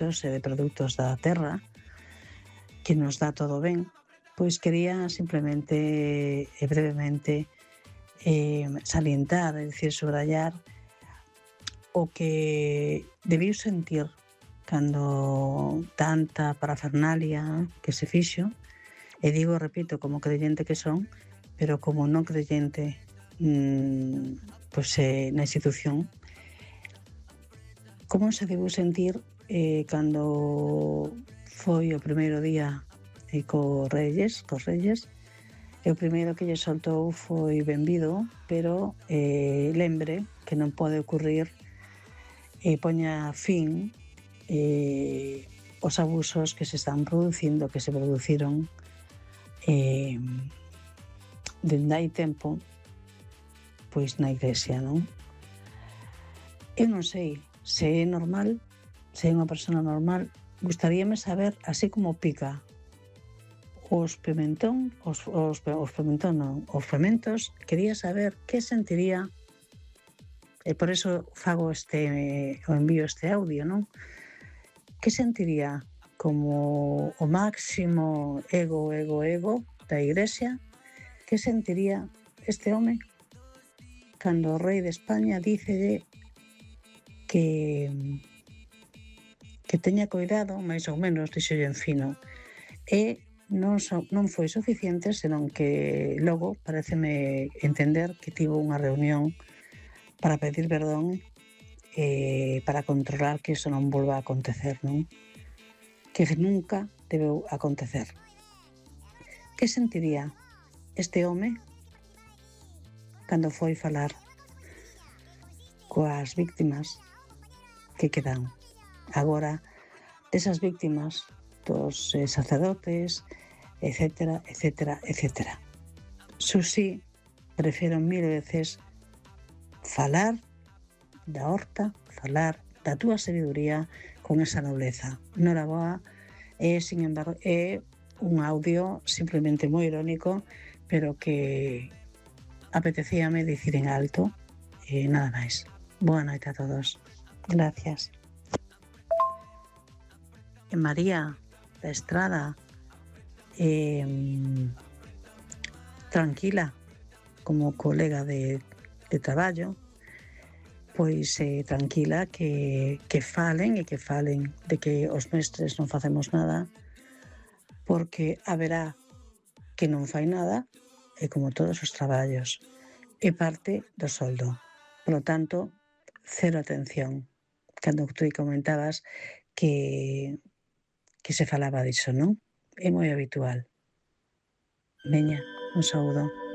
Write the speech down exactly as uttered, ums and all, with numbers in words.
e de produtos da terra, que nos dá todo ben, pois quería simplemente e brevemente eh, salientar, é dicir, subrayar o que debiu sentir cando tanta parafernalia que se fixo, e digo, repito, como creyente que son, pero como non creyente mmm, pois, eh, na institución, como se debiu sentir eh, cando foi o primeiro día eh, co Reyes, cos Reyes, e o primeiro que lle soltou foi benvido, pero eh, lembre que non pode ocurrir e poña fin eh, os abusos que se están producindo, que se produciron eh, dende hai tempo pois na Iglesia, non? Eu non sei se é normal, se é unha persona normal, gustaríame saber, así como pica os pimentón, os, os, os pimentón non, os fermentos, quería saber que sentiría. E por iso fago este, o envío este audio, non? Que sentiría como o máximo ego, ego, ego da Iglesia? Que sentiría este home cando o rei de España dícelle que que teña cuidado, máis ou menos, dixolle en fino, e non, so, non foi suficiente, senón que logo pareceme entender que tivo unha reunión para pedir perdón eh, para controlar que iso non volva a acontecer, non? Que nunca debeu acontecer. Que sentiría este home cando foi falar coas víctimas que quedan agora, desas víctimas dos eh, sacerdotes, etcétera, etcétera, etcétera. Susí, prefiro mil veces falar da horta, falar da túa sabiduría con esa nobleza. Noraboa, é, sin embargo, é un audio simplemente moi irónico, pero que apetecíame dicir en alto e nada máis. Boa noite a todos. Gracias. E María da Estrada, eh, tranquila, como colega de, de traballo, pois eh, tranquila que, que falen e que falen de que os mestres non facemos nada, porque haberá que non fai nada, e como todos os traballos, é parte do soldo. Por lo tanto, cero atención. Cando tú comentabas que, que se falaba diso, non? É moi habitual. Veña, un saúdo.